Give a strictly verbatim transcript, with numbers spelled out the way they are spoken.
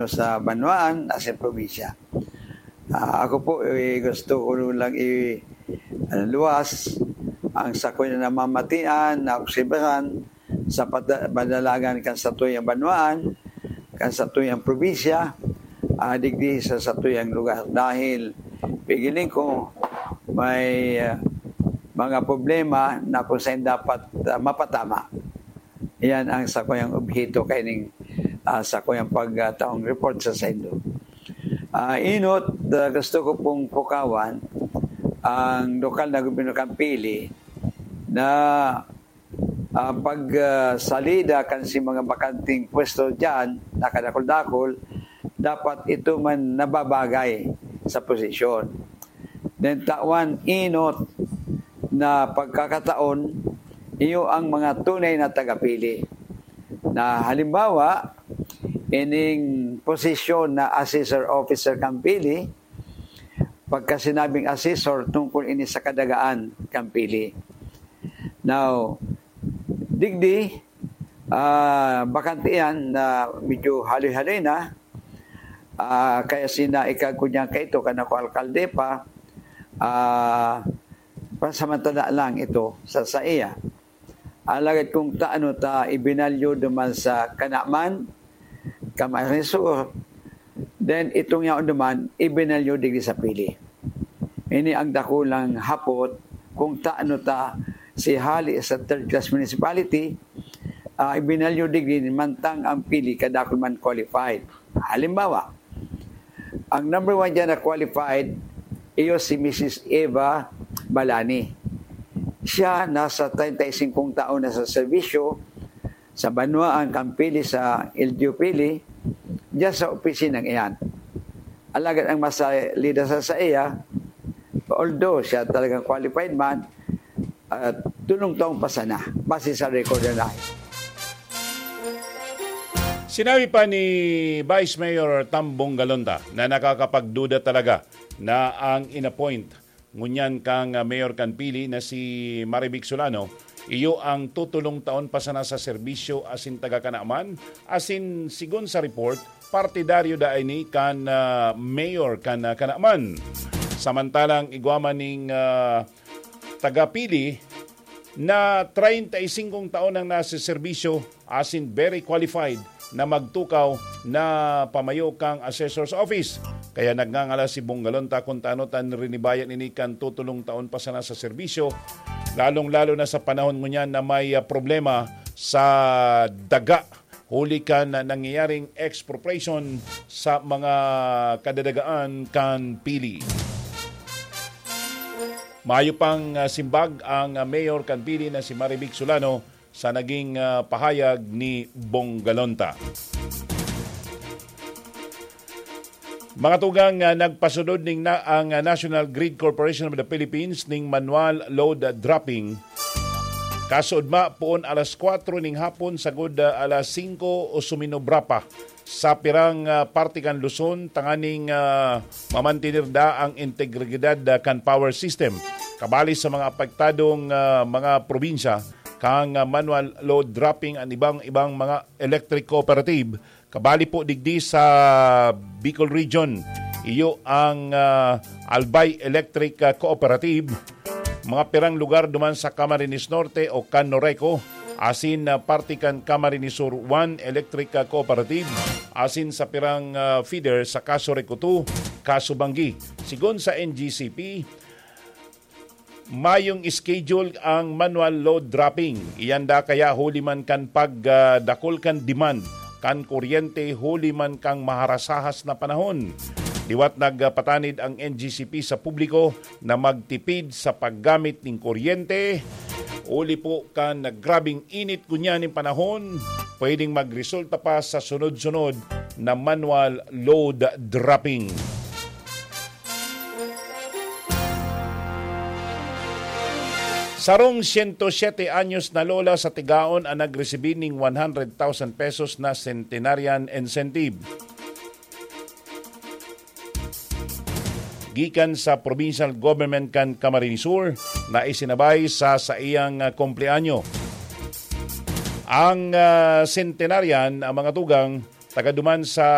sa banwaan asin probinsya. Ah, ako po, eh, gusto ko lang i-, ano, luwas ang sakoy na namamatian, naobserbahan sa pata-, panalagan kan satuyang banwaan, kan satuyang probinsya, ah, digdi sa satuyang lugar. Dahil pigiling ko may, ah, mga problema na kung saan dapat, ah, mapatama. Iyan ang sakuyang obheto kaining, ah, sakuyang pagtaong report sa saindo. Ah, inot, ah, gusto ko pong pukawan ang lokal na gobyerno kan Pili na, ah, pag, ah, salida kan si mga bakanting pwesto diyan, na kadakul-dakul, dapat ito man nababagay sa posisyon. Then, tawan, inot na pagkakataon, iyo ang mga tunay na tagapili. Na halimbawa, ining posisyon na assessor officer kan Pili, pagka sinabing assessor, tungkol ini sa kadagaan kan Pili. Now, digdi, ah, bakante yan na medyo haloy-haloy na. Ah, kaya sinaikag ko niyan kaito, kan ako alkalde pa, ah, pansamantala lang ito sa saiya. Alagad kung taano ta ibinalyo duman sa Kanaman, Camarines Sur, then itong yaon duman, ibinalyo digdi sa Pili. Ini ang dakulang hapot kung taano ta si hali sa third class municipality, ah, ibinalyo digdi mantang ang Pili kadakul man qualified. Halimbawa, ang number one diyan na qualified, iyo si Missus Eva Balani. Siya nasa treinta y cinco taon na sa serbisyo sa banwaan kan Pili sa L G U Pili, diyan sa opisinang iyan. Alagad ang masalida sa saiya, although siya talagang qualified man, at tulong taong pa sana, base sa record na nahi. Sinabi pa ni Vice Mayor Tambong Galonta na nakakapagduda talaga na ang inappoint ngunyan kang, ah, mayor kan Pili na si Marivic Solano, iyo ang tutulong taon pa sana sa serbisyo asin taga Kanaman, asin sigon sa report, partidaryo da ini kan, ah, mayor kan, ah, Kanaman. Samantalang igwa man ning, ah, taga Pili na treinta y cinco taon nang nasa serbisyo asin very qualified na magtukaw na pamayo kang assessor's office. Kaya nagngangalas si Bong Galonta kun tano ta rinibayan ini kan tutulong taon pa sana sa serbisyo, lalong-lalo na sa panahon ngunyan na may, ah, problema sa daga huli kan nangyayaring expropriation sa mga kadadagaan kan Pili. Mayo pang, ah, simbag ang, ah, mayor kan Pili na si Marivic Solano sa naging, ah, pahayag ni Bong Galonta. Mga tugang, ah, nagpasunod ning na, ang, ah, National Grid Corporation of the Philippines ning manual load dropping. Kasuodma, poon alas kwatro ning hapon, sagod, ah, alas singko o suminobra pa sa pirang, ah, parte kan Luzon, tanganing, ah, mamantener da ang integridad, ah, kan power system. Kabali sa mga apektadong, ah, mga probinsya, kang, ah, manual load dropping ang ibang-ibang mga electric cooperative. Kabali po digdi sa Bicol Region, iyo ang, ah, Albay Electric, ah, Cooperative, mga pirang lugar duman sa Camarines Norte o Canoreco, asin, ah, parte kan Camarines Sur One Electric, ah, Cooperative, asin sa pirang, ah, feeder sa Casureco Two, Casubangui. Sigon sa N G C P, mayong schedule ang manual load dropping. Iyan da kaya huli man kan pag, ah, dakul kan demand kan kuryente, huli man kang maharasahas na panahon. Liwat nagpatanid ang N G C P sa publiko na magtipid sa paggamit ning kuryente. Huli po kan grabing init ngunyan ning panahon, pwedeng magresulta pa sa sunod-sunod na manual load dropping. Sarong siyento siyete anyos na lola sa Tigaon ang nagresibi ning one hundred thousand pesos na centenarian incentive gikan sa provincial government kan Camarines Sur na isinabay sa saiyang, ah, kumpleanyo. Ang, ah, centenarian, ang mga tugang, taga duman sa